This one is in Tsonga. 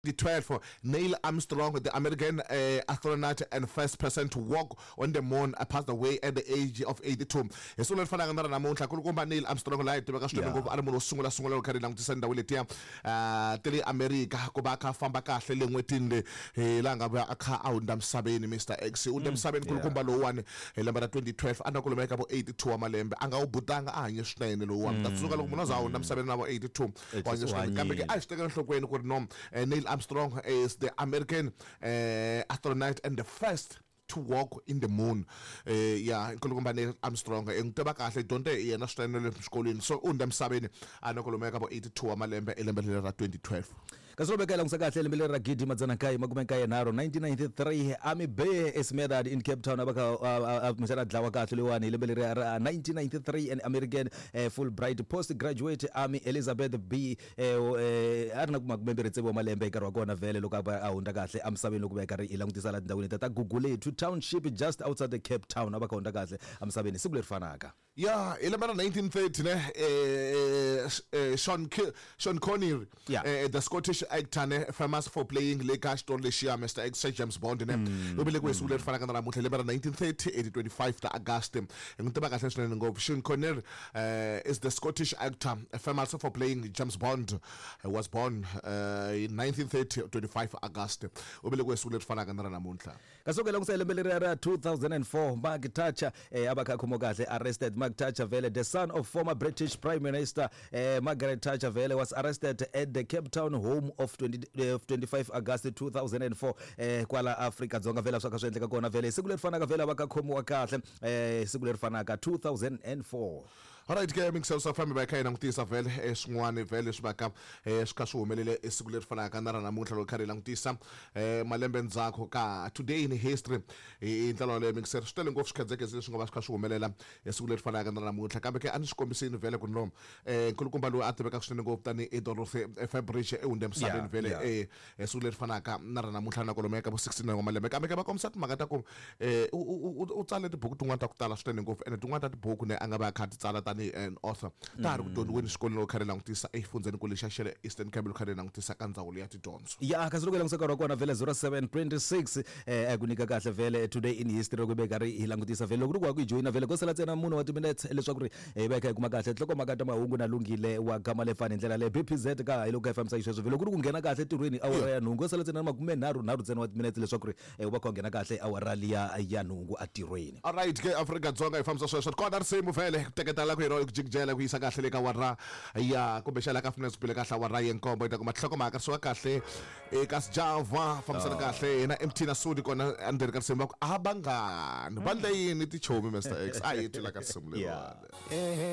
2012, Neil Armstrong, the American astronaut and first person to walk on the moon, passed away at the age of 82. Hi siku leri fanaka na ra namuntlha, kulukumba Neil Armstrong laha hi tiveka swinene ngopfu a ri munhu wo sungula sungula loko kha ri langutisa ndhawu letiya ti le America ku va a kha a famba kahle le n'hwetini le hi laha nga vuya a kha a hundza misaveni. Mr X u hundze misaveni kulukumba lowuwani hi lembe ra 2012 a na kwalomuya ka vo 82 wa malembe. A nga wu butanga, a hanye swinene lowuwani. Ta tsundzuka loko munhu a za a hundza misaveni na vo 82 It is wa kambe ke a hi swi tekela enhlokweni ku ri no Neil Armstrong is the American astronaut and the first to walk in the moon. Ya nkulukumba Neil Armstrong n'wi tiva kahle, dyondze hi yena swinene le xikolweni. So u hundza emisaveni a na kwalomuya ka vo 82 wa malembe elembe leri ra 2012. Kasi loko veka langutisa kahle lembe leri ra 1993, 1993, Ami Bay is murdered in Cape Town. A va kha a kumbexana a dlawa kahle loyiwani hi lembe leri ra 1993. An American Fulbright postgraduate Amy Elizabeth B a ri na makumembirhi tsevu wa malembe hi nkarhi wa kona vhele loko a va a hundza kahle emisaveni. Loko va karhi hi langutisa laha tindhawini ta Gugulethu Township just outside the Cape Town, a va kha hundza kahle emisaveni siku leri fanaka. Ya, hi lembe ra 1930 ne Sean Connery, the Scottish actor ne, famous for playing le ka xitori lexiya Mr X xa James Bond ne, u velekiwe hi siku leri fanaka na namuntlha hi lembe ra 1930 hi ti 25 ta August. Hi n'wi tiva kahle swinene ngopfu. Sean Connery is the Scottish actor famous for playing James Bond. He was born in 1930 25 August. U velekiwe hi siku leri fanaka na ra namuntlha. Kasi loko hi langutisa hi lembe leriya ra 2004, Mark Thatcher a va kha a khomiwa kahle, arrested. Mark Thatcher vele, the son of former British Prime Minister Margaret Thatcher vele, was arrested at the Cape Town home of 20, of 25 August 2004 kwala Afrika Dzonga vele swa kha swi endleka kona vele hi siku leri fanaka vele va kha khomiwa kahle siku leri fanaka 2004. Alright ke mingiselo swa fambi va kha hi langutisa vhele swin'wana vhele swi va ka swi kha swi humelele siku leri fanaka na ra namuntlha loko kha hi langutisa malembe ndzhaku ka today in history hi ndlela yaleyo. Mingiselo swi tele ngopfu swikhedzekeze leswi nga va swi kha swi humelela siku leri fanaka na ra namuntlha, kambe ke a ni swi kombisini vhele ku no nkulukumba loyi a tivekaka swinene ngopfu tanihi Dorothy Fabridge e hundze emisaveni vhele siku leri fanaka na ra namuntlha na kwalomuya ka vo 69 wa malembe. Kambe ke va kombisa timhaka ta ku u tsale tibuku tin'wana ta ku tala swinene ngopfu, ene tin'wana ta tibuku ne a nga va a kha a ti tsala tanihi an author ta ha ri ku dyondziweni xikolweni loko kha ri langutisa exifundzheni kulu xa xa le Eastern Cape loko kha ri langutisa ka ndzawulo ya tidyondzo. Ya, kasi loko hi langutisa nkarhi wa kona vhele 07:26 a ku nyika kahle vhele today in history loko hi karhi hi langutisa vhele loko ri ku wa ku yi joyina vhele ko sala ntsena mune wa timinetse leswaku ri hi va hi kha hi kuma kahle nhlokomhaka ta mahungu na Lunghile wa gama lefani hi ndlela leyi BPZ ka hi loko hi fambisa xisweswo vhele loko ri ku nghena kahle entirhweni awara ya nhungu ko sala ntsena makumenharhu nharhu ntsena wa timinetse leswaku ri u va kha u nghena kahle awara liya ya nhungu entirhweni. Alright ke Afrika-Dzonga hi fambisa sweswo kona risimu vhele ku teketela ku hero ku jikijela ku yisa kahle le ka awara ya kumbexana ka finance bile kahle awara ya nkombo yi ta kuma nhlokomhaka suka kahle eka Sjava fambisana kahle na MT na Sudi kona endzeni ka risimu va ku a vangani va ndle yini tichomi Mr X a hi twi la ka risimu leriwani.